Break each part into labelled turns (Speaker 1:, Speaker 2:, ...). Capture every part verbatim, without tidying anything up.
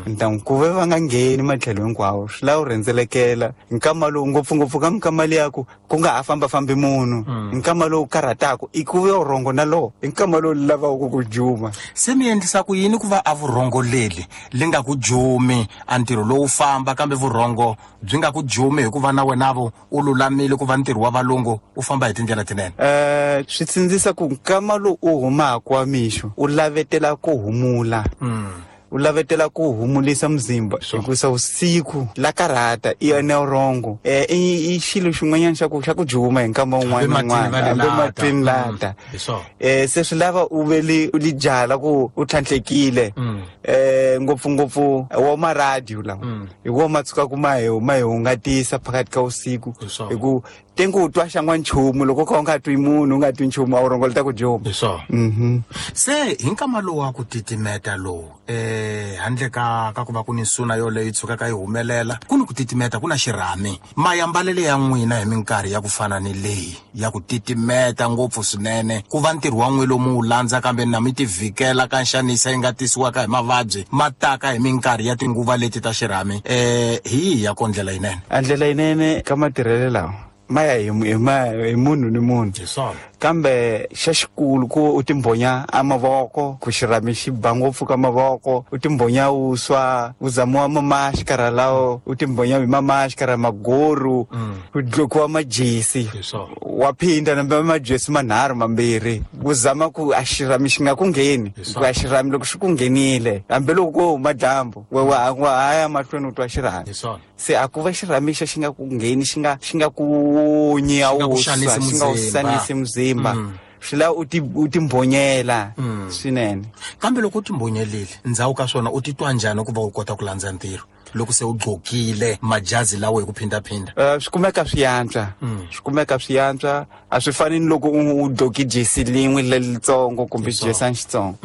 Speaker 1: Ntangu ku ve va nga ngheni matlhelo hinkwawo swi lava u rhendzelekela nkama lowu ngopfungopfu ka minkama liya ku ku nga ha fambafambi munhu nkama lowu karhataka i ku ve vurhongo na lowo i nkama lowu lavaka ku juma.
Speaker 2: Se mi endlisa ku yini ku va a vurhongo leli li nga ku jumi a ntirho lowu famba kambe vurhongo byi nga ku jumi hikuva na wena vo u lulamile ku va ntirho wa valungu u famba hi tindlela tinene?
Speaker 1: Um swi tsindzisa ku nkama lowu u humaka wa mixo u lavetela ku humula, u lavetela ku humulisa muzimba hikusa usiku la karhata i ene vurhongo um i xilo xin'wanyana xa ku xa ku juma hi nkama wun'wana na wun'wana hambi matini lata. Um se swi lava u ve li u li jala ku u tlhantlhekile um ngopfungopfu wa maradiyo lawa hi wo ma tshukaku ma hi ma hi hungatisa phakathi ka usiku hi ku tengu u twa xan'wa nchumu loko kha u nga twi munhu u nga twi nchumu a vurhongo li ta ku juma.
Speaker 2: Hi swona. Se hi nkama lowu wa ku titimeta lowu eh handle ka ka ku va ku ni nsuna yoleyo yi tshukaka yi humelela ku ni ku titimeta ku na xirhami mayambalele ya n'wina hi minkarhi ya ku fana ni leyi ya ku titimeta ngopfu swinene ku va ntirho wa n'wi lomu wu landza kambe na mi ti vhikela ka nxanisa yi nga tisiwaka hi mavabyi ma taka hi minkarhi ya tinguva leti ta xirhami eh hi yihi ya ko ndlela yinene?
Speaker 1: A ndlela yinene ka matirhelo lawa ma ya hi hi munhu ni munhu kambe xa xikulu ku u timbhonya a mavoko ku xirhami xi ba ngopfu ka mavoko u timbhonya vuswa u zamiwa mamaxikara lawo u timbhonya hi mamaxikara magoru ku dlokiwa majesi wa phinda nambe majesi manharhu mambirhi ku zama ku a xirhami xi nga ku ngheni ku a xirhami loko xi ku nghenile hambiloko ko huma dyambu we wa ha ya mahlweni u twa xirhami. Se a ku va xirhami xo xi nga ku ngheni xi nga xi nga ku onyi a wuswa xi nga u xanisi muzimba swi lava u ti u timbhonyela swinene.
Speaker 2: Kambe loko u timbhonyelile ndzhaku ka swona u titwa njhani ku va u kota ku landza ntirho loko se u gqokile majazi lawo hi ku phindaphinda?
Speaker 1: Um swi kumeka swi yantswa swi kumeka swi yantswa a swi fani ni loko u gqoki jesi lin'we lelitsongo kumbe xijesani xitsongo.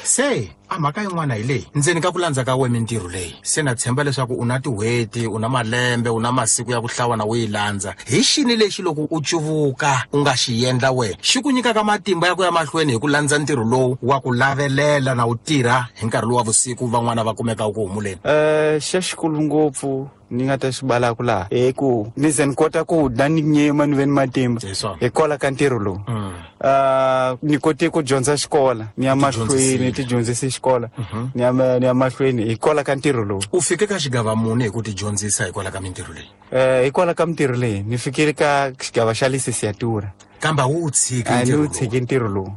Speaker 2: Se a mhaka yin'wana hi leyi ndzeni ka ku landza ka we mintirho leyi se na tshemba leswaku u na tin'hweti u na malembe u na masiku ya ku hlawa na u yi landza hi xini lexi loko u cuvuka u nga xi endla wena xi ku nyikaka matimba ya ku ya mahlweni hi ku landza ntirho lowu wa ku lavelela na u tirha hi nkarhi lowu wa vusiku van'wana va kumeka ku humuleni?
Speaker 1: Um xa xikulu ngopfu ni nga ta xi balaka laha hi ku ni ze ni kota ku dya ni nyima ni ve ni matimba hikwalaho ka ntirho lowu. Um ni kote ku dyondza xikola ni ya mahlweni ti dyondzise xikola ni ya ni ya mahlweni hikwalaho ka ntirho lowu.
Speaker 2: U fike ka xigava muni hi ku ti dyondzisa hikwalaho ka mintirho leyi?
Speaker 1: Um hikwalaho ka mintirho leyi ni fikile ka xigava xa lisesiatura.
Speaker 2: Kambe a wu tshiki
Speaker 1: a ni wu tshiki ntirho lowu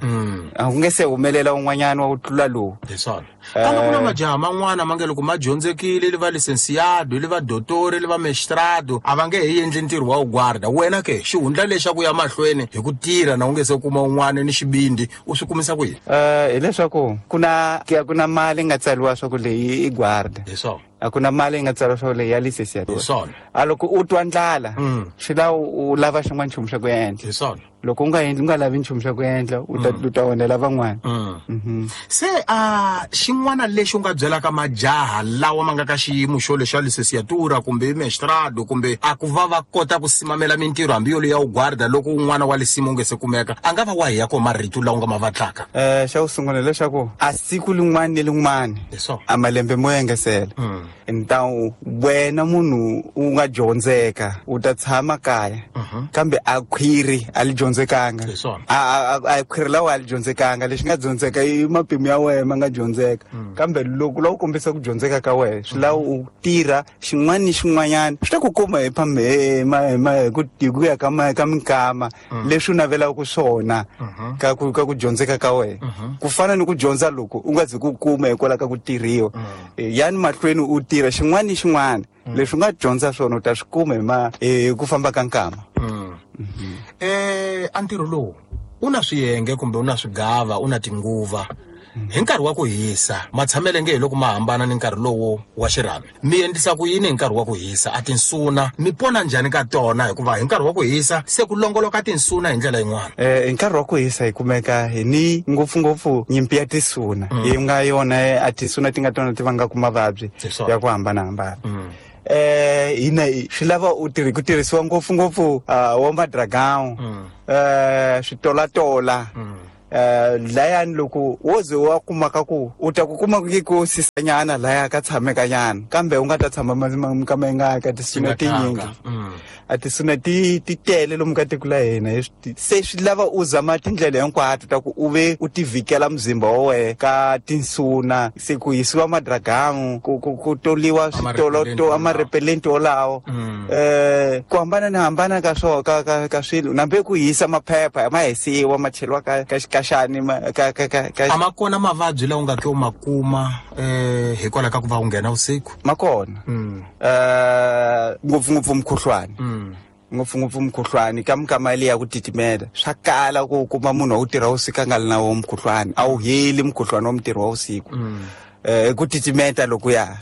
Speaker 1: a ku nge se humelela un'wanyana wa ku tlula lowu.
Speaker 2: Hi swona. Kambe ku na majaha man'wana ma nge loko ma dyondzekile li va licenciado li va dotori li va mestrado a va nge he endli ntirho wa guarda. Wena ke xihundla lexi xa ku ya mahlweni hi ku tirha na u nge se kuma un'wana ni xibindi u swi kumisa ku yini?
Speaker 1: Um hileswaku ku na ku na mali nga tsariwa swa ku leyi i guarda.
Speaker 2: Hi swona.
Speaker 1: A ku na mali yi nga tsariwa swa ku leyi ya lisesiatura.
Speaker 2: Hi swona.
Speaker 1: A loko u twa ndlala swi lava u lava xin'wana nchumu xa ku endla.
Speaker 2: Hi swona.
Speaker 1: Loko u nga endli u nga lavi nchumu xa ku endla u ta u ta onhela van'wana.
Speaker 2: Se a xin'wana lexi u nga byelaka majaha lawa ma nga ka xiyimo xo lexa lisesiatura kumbe mestrado kumbe a ku va va kota ku simamela mintirho hambi yoloyo ya u guarda loko un'wana wa lisimu u nge se kumeka a nga va wahi ya ko marito lawa u nga ma vatlaka?
Speaker 1: Um xa ku sungula leswaku a siku lin'wana ni lin'wana a malembe mo engesela ntawu wena munhu u nga dyondzeka u ta tshama kaya kambe a khwiri a li dyondzekanga a a khwiri lawa a li dyondzekanga lexi nga dyondzeka i mapimo ya wena ma nga dyondzeka kambe loko la u kombisa ku dyondzeka ka wena swi lava u tirha xin'wana ni xin'wanyana swi ta ku kuma hi hi ku hi ku ya ka ka minkama leswi u navelaka swona ka ku ka ku dyondzeka ka wena ku fana ni ku dyondza loko u nga zi ku kuma hikwalaho ka ku tirhiwa yani mahlweni u tirha xin'wana ni xin'wana leswi u nga dyondza swona u ta swi kuma hi ma hi ku famba ka nkama.
Speaker 2: Eh a ntirho lowu u na swiyenge kumbe u na swigava u na tinguva hi nkarhi wa ku hisa matshamele nge hi loko ma hambana ni nkarhi lowo wa xirhami mi endlisa ku yini hi nkarhi wa ku hisa a tinsuna mi pona njhani ka tona hikuva hi nkarhi wa ku hisa se ku longoloka tinsuna hi ndlela yin'wana?
Speaker 1: Um hi nkarhi wa ku hisa hi kumeka hi ni ngopfungopfu nyimpi ya tisuna yi nga yona a tisuna ti nga tona ti vangaka mavabyi ya ku hambanahambana. Eh hina swi lava u tirhi ku tirhisiwa ngopfungopfu wa madragão eh switolatola um layani loko wo ze wa kumaka ku u ta ku kuma ku sisanyana laya ka tshamekanyana kambe u nga ta tshama mikama yi nga ka tisuna tinyingi a tisuna ti ti tele lomu ka tiko la hina se swi lava u zama tindlela hinkwato ta ku u ve u tivikela muzimba wa wehe ka tinsuna se ku hisiwa madragamu ku ku ku toliwa switolo amarepelenti wolawo um ku hambana ni hambana ka swo ka ka ka swilo nambe ku hisa maphepha ma hisiwa ma cheliwa ka ka xikaxani ka ka ka ka
Speaker 2: a ma kona mavabyi lawa u nga ke u ma kuma eh hikwalaho ka ku va u nghena vusiku
Speaker 1: ma kona eh ngopfungopfu mukhuhlwani ngopfungopfu mukhuhlwani ka mikama leyi ya ku titimela swa kala ku kuma munhu wa ku tirha vusiku a nga ri na wo mukhuhlwani a wu heli mukhuhlwani wa mutirhi wa vusiku eh ku titimeta loko ya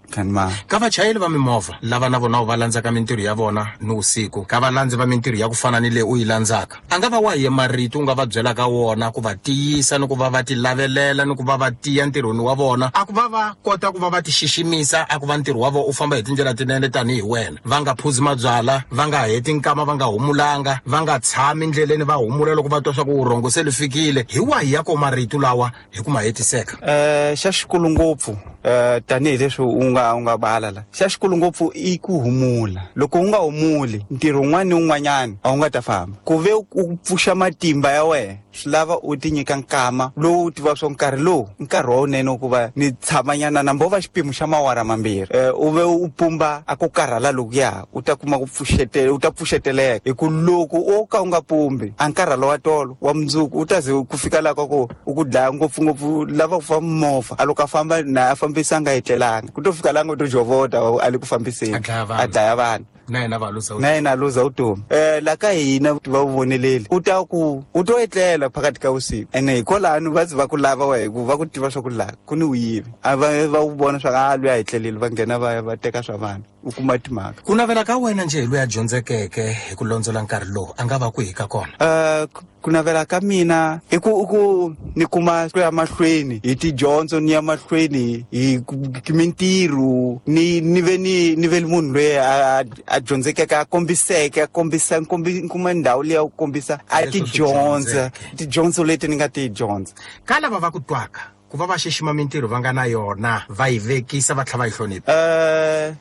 Speaker 2: kanma ka vachayeri va mimovha lava na vona va landzaka mintirho ya vona ni vusiku ka valandzi va mintirho ya ku fana ni leyi u yi landzaka a nga va wahi marito u nga va byelaka wona ku va tiyisa ni ku va va ti lavelela ni ku va va tiya ntirhweni wa vona a ku va va kota ku va va ti xiximisa a ku va ntirho wa vona u famba hi tindlela tinene tanihi wena va nga phuzi mabyala va nga heti nkama va nga humulanga va nga tshami ndleleni va humula loko va twa swa ku vurhongo se li fikile hi wahi ya ko marito lawa hi ku ma hetiseka
Speaker 1: um xa xikulu ngopfu um tanihileswi u nga u nga bala la xa xikulu ngopfu i ku humula loko u nga humuli ntirho wun'wana ni wun'wanyana a wu nga ta famba ku ve u pfuxa matimba ya wena swi lava u ti nyika nkama lowu u tiva swo nkarhi lowu nkarhi wa wunene ku va ni tshamanyana nambo wo va xipimo xa mawara mambirhi um u ve u pumba a ku karhala lokuya u ta kuma ku pfuxetela u ta pfuxeteleka hi ku loko o ka u nga pumbi a nkarhalo wa tolo wa mundzuku u ta ze ku fika laha ka ku u ku dlaya ngopfungopfu lava ku famba movha a loko a famba na a fambisa a nga etlelanga ku to fika laha ngo to jovota a le ku fambiseni a dlaya vanhu
Speaker 2: na yena va luza
Speaker 1: na yena a luza vutomi um la ka hina va wu voneleli u ta ku u to etlela phakathi ka vusiku ene hikwalano va ze va ku lava wa hi ku va ku tiva swa ku laha ku ni vuyivi a va va wu vona swa ku a lweyi a etleleli va nghena va va teka swa vanhu u kuma timhaka
Speaker 2: ku navela ka wena njhe hi loyi a dyondzekeke hi ku londzola nkarhi lowu a nga va kwihi ka kona
Speaker 1: um ku navela ka mina i ku i ku ni kuma ku ya mahlweni hi tidyondzo ni ya mahlweni hi mintirho ni ni ve ni ni ve munhu loyi a a dyondzekeke a kombiseke a kombisa nkombi kuma ndhawu leyi ya ku kombisa a tidyondza tidyondzo leti ni nga ti dyondza
Speaker 2: ka lava va ku twaka ku va va xixima mintirho va nga na yona va yi vekisa va tlhela va yi hlonipha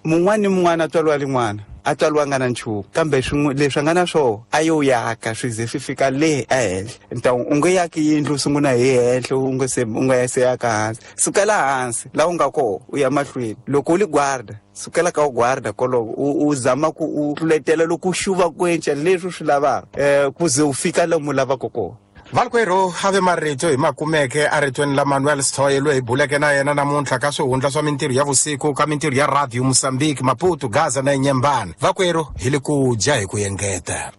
Speaker 1: um mun'wana ni mun'wana a tswariwa rin'wana a tswariwa nga na nchumu kambe leswi a nga na swoho a yo yaka swi ze swi fika le ehenhla ntawu u nge yaki yindlu u sungula hi henhla u nga se u nga se yaka hansi sukela hansi laha u nga koho u ya mahlweni loko u li guarda sukela ka u guarda koloko u u zama ku u tluletela loko u xuva ku enca leswi u swi lavaka um ku ze u fika lomu u lavaka kona
Speaker 2: valkwerhu a ve marito hi makumeke eritweni la Manuel Sithoye loyi hi buleke na yena namuntlha ka swihundla swa mintirho ya vusiku ka mintirho ya radio Mozambique Maputo Gaza na Inyembani vakwerhu hi le ku dya hi ku engeta.